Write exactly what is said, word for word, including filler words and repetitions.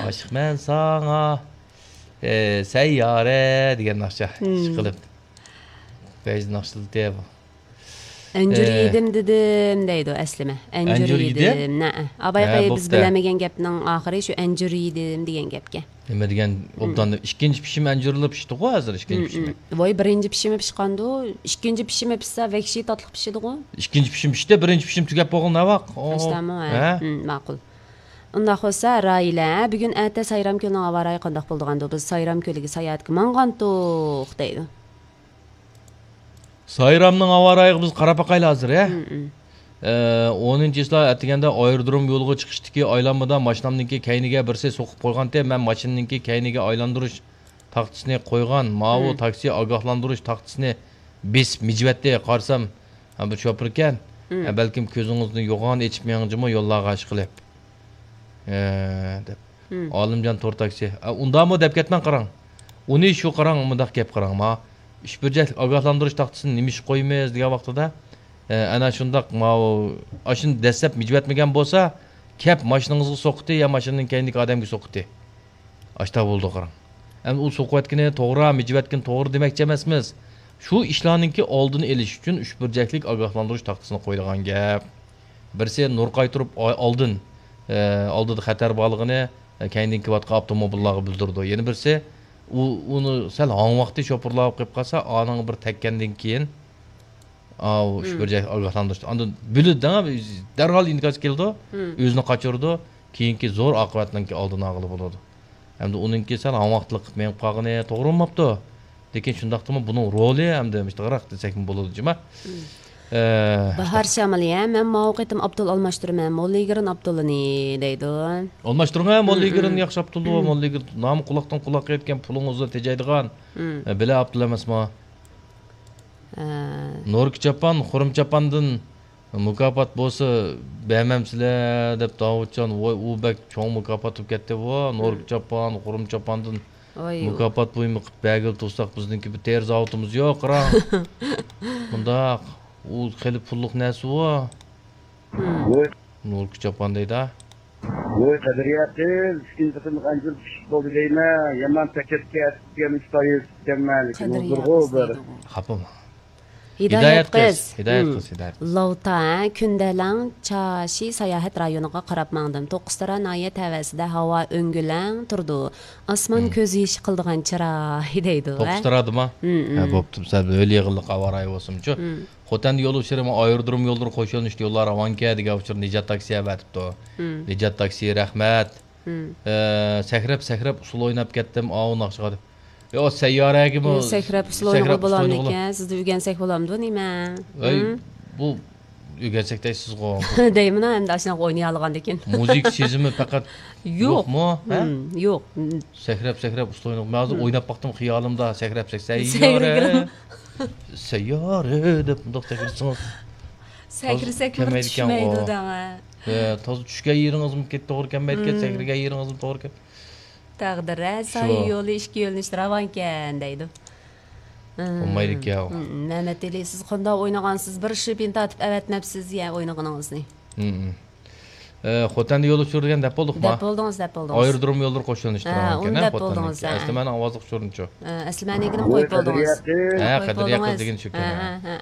ئاشىقمەن ساڭا، ئە، سەييارە دېگەن ناخشا ئىشقىلىپ. بەزى ناخشىلىتى بۇ. ئەنجۈر ئە. يېدىم دېدىم دەيدۇ ئەسلىمە. ئەنجۈر ئەنجۈر يېدىم. يېدىم. نەئە. ئاباي ھە، قېي، بىز بوپتۇ. بىلەلمىگەن گەپنىڭ ئاخىرى شۇ ئەنجۈر يېدىم دېگەن گەپكەن. نېمە دېگەن؟ ئوبدان ئىككىنچى پىشىم ئەنجۈرلا پىشتىغۇ ھازىر، ئىككىنچى پىشىمى. ۋاي، بىرىنچى پىشىمى پىشقاندۇ. ئىككىنچى پىشىمى پىشسا، ۋەھشىي تاتلىق پىشىدىغۇ. ئىككىنچى پىشىم پىشتى، بىرىنچى پىشىم تۈگەپ بولغىلى نەۋاق. ئاشتامۇ، ھە؟ ھە؟ ماقۇل. ئۇنداق بولسا، راھىلە، بۈگۈن ئەتە سايرام كۆلىنىڭ ھاۋا رايى قانداق بولىدىغاندۇ؟ بىز سايرام كۆلىگە ساياھەتكە ماڭغانتۇق، دەيدۇ. سايرامنىڭ ھاۋا رايىغا بىز قاراپ باقايلى ھازىر، ھە؟ ئە، ئونىنچى چىسلا ئەتىگەندە ئايرودروم يولىغا چىقىشتىكى ئايلانمىدا ماشىنامنىڭكى كەينىگە بىرسى سوقۇپ قويغانتى، مەن ماشىنىنىڭكى كەينىگە ئايلاندۇرۇش تاختىسىنى قويغان، ماۋۇ تاكسى ئاگاھلاندۇرۇش تاختىسىنى بېسىپ مىجىۋەتتى. قارىسام، ھە، بۇ شوپۇركەن. ھە، بەلكىم كۆزىڭىزنى يوغان ئېچىپ مېڭىڭ جۇمۇ يوللارغا ئىشقىلىپ. ھە، دەپ. ئالىمجان تور تاكسى. ئە، ئۇنداقمۇ دەپ كەتمەڭ قاراڭ. ئۇنى شۇ قاراڭ، مۇنداق گەپ قاراڭ، ما. ئۈچ بۇرجەكلىك ئاگاھلاندۇرۇش تاختىسىنى نېمە ئىشقا قويىمىز دېگەن ۋاقتىدا، ئە، ئەنە شۇنداق، ماۋۇ، ئاشۇنى دەسسەپ مىجىۋەتمىگەن بولسا، كەپ ماشىنىڭىزغا سوقتى يا ماشىنىنىڭ كەينىدىكى ئادەمگە سوقتى. ئاشتا بولىدۇ قاراڭ. ئەمدى ئۇ سوقۇۋەتكىنى توغرا، مىجىۋەتكىنى توغرا دېمەكچى ئەمەسمىز. شۇ ئىشلارنىڭكى ئالدىنى ئېلىش ئۈچۈن ئۈچ بۇرجەكلىك ئاگاھلاندۇرۇش تاختىسىنى قويىدىغان گەپ. بىرسى نۇر قايتۇرۇپ ئا-، ئالدىن، ئە، ئالدىدا خەتەر بارلىقىنى، ئە، كەينىدىن كېلىۋاتقان ئاپتوموبىللارغا بىلدۈرىدۇ. يەنە بىرسى ئۇ، ئۇنى سەل ھاڭۋاقتى شوپۇرلاپ قېلىپ قالسا، ئانىڭغا بىر تەگكەندىن كېيىن، ئاۋۇ ئۈچ بۇرجەك ئاگاھلاندۇرۇش. ئاندىن بىلىدۇ، دەرھال ئىنكاس كېلىدۇ، ئۆزىنى قاچۇرىدۇ. كېيىنكى زور ئاقىۋەتنىڭكى ئالدىنى ئالغىلى بولىدۇ. ئەمدى ئۇنىڭكى سەل ھاڭۋاقلىق قىلىپ مېڭىپ قالغىنى توغرا بولماپتۇ. لېكىن شۇنداقتىمۇ بۇنىڭ رولى ئەمدى مۇشتاقراق دېسەكمۇ بولىدۇ جۇما. ئە، باھار شامىلى، ھە، مەن ماۋۇ قېتىم ئاپتول ئالماشتۇرىمەن، موللىگىرىن ئاپتولىنى دەيدۇ. ئالماشتۇرۇڭ، ھە، موللىگىرىن ياخشى ئاپتول، موللىگىرىن نامى قۇلاقتىن قۇلاققا يەتكەن، پۇلىڭىزنى تېجەيدىغان. ئە، بىلە ئاپتول ئەمەسمۇ؟ ئە. نوركا چاپان، خۇرۇم چاپاندىن مۇكاپات بولسا بەرمەمسىلەر دەپ داۋۇتجان، ۋاي، ئۇ بەك چوڭ مۇكاپات بولۇپ كەتتى بۇ. نوركا چاپان، خۇرۇم چاپاندىن مۇكاپات بۇيۇمى قىلىپ بەرگىلى تۇرساق، بىزنىڭكى بىر تېرە زاۋۇتىمىز يوق، قاراڭ. مۇنداق، ئۇ خېلى پۇللۇق نەرسە ئۇ. نوركا چاپان دەيدۇ. ۋوي، قەدرىيە قىز، ئىككىنچى قېتىملىق ئەنجۈر پىشىپ بولدى دەيمەن. يامان پەكەتكە ئەتكەن ئىشتايىز ئىكەنمەن، لېكىن ھۇزۇرغۇ بىر. خاپىمۇ؟ ھىدايەت قىز. ھىدايەت قىز، ھىدايەت قىز. لاۋتا، كۈندەلەڭ، چاشى ساياھەت رايونىغا قاراپ ماڭدىم. توققۇزتارا ناھىيە تەۋەسىدە ھاۋا ئۆڭگۈلەڭ تۇرىدۇ. ئاسمان كۆز يېشى قىلىدىغان چىراي دەيدۇ، ھە؟ توققۇزتارادىما؟ ھە، بوپتۇ. سەل ھۆل يېغىنلىق ھاۋا رايى بولسىمۇچۇ. خوتەندە يول ئۇچۇرى، ئايرودروم يوللىرى قوشۇلۇشتى، يوللار راۋانكەن دېگەن ئۇچۇر نىجات تاكسى ئەۋەتىپتۇ. نىجات تاكسى، رەھمەت. ئە، سەكرەپ، سەكرەپ ئۇسسۇل ئويناپ كەتتىم، ئاۋۇ ناخشىغا دەپ. يا، سەييارەگىمۇ يا، سەكرەپ ئۇسسۇل ئوينىغىلى بولامدىكەن؟ سىزدە ئۆگەنسەك بولامدۇ، نېمە؟ ئەي، بۇ ئۆگەنسەك دەيسىزغۇ. دەيمىنا، ئەمدى ئاشۇنداق ئوينىيالىغاندىكىن. مۇزىكا سېزىمى پەقەت يوق. يوقمۇ؟ ھە؟ يوق. سەكرەپ، سەكرەپ ئۇسسۇل ئوينىغان. مەن ھازىر ئويناپ باقتىم خىيالىمدا، سەكرەپ، سەكرەپ، سەييارە. سەييارە دەپ مۇنداق سەكرىسىڭىز. سەكرىسەكمۇ چۈشمەيدۇ دەڭە. ھە، تازا چۈشكەن يېرىڭىزمۇ كەت-، توغرا كەلمەيدىكەن، سەكرىگەن يېرىڭىزمۇ توغرا كەت-، تەقدىر، ھە، سايە يولى ئىككى يۆنىلىشتە راۋانكەن دەيدۇ. بولمايدىكەن ئۇ. مەمەت ئېلى، سىز قانداق ئوينىغانسىز؟ بىر شىپىن تارتىپ ئەۋەتمەپسىز يا ئوينىغىنىڭىزنى. ئە، خوتەندە يول ئۇچۇرى دېگەن دەپ بولدۇقما؟ دەپ بولدۇڭىز، دەپ بولدۇڭىز. ئايرودروم يوللىرى قوشۇلۇشتۇرۇلغان ھە، ئۇنى دەپ بولدىڭىز، ھە. ئەسلى مەنىڭ ئاۋازلىق ئۇچۇرىمچۇ؟ ھە، ئەسلى مەنىڭكىنىمۇ قويۇپ بولدىڭىز. ھە، قەدرىيە قىز دېگىنى شۇكەن، ھە، ھە. ھە، ھە.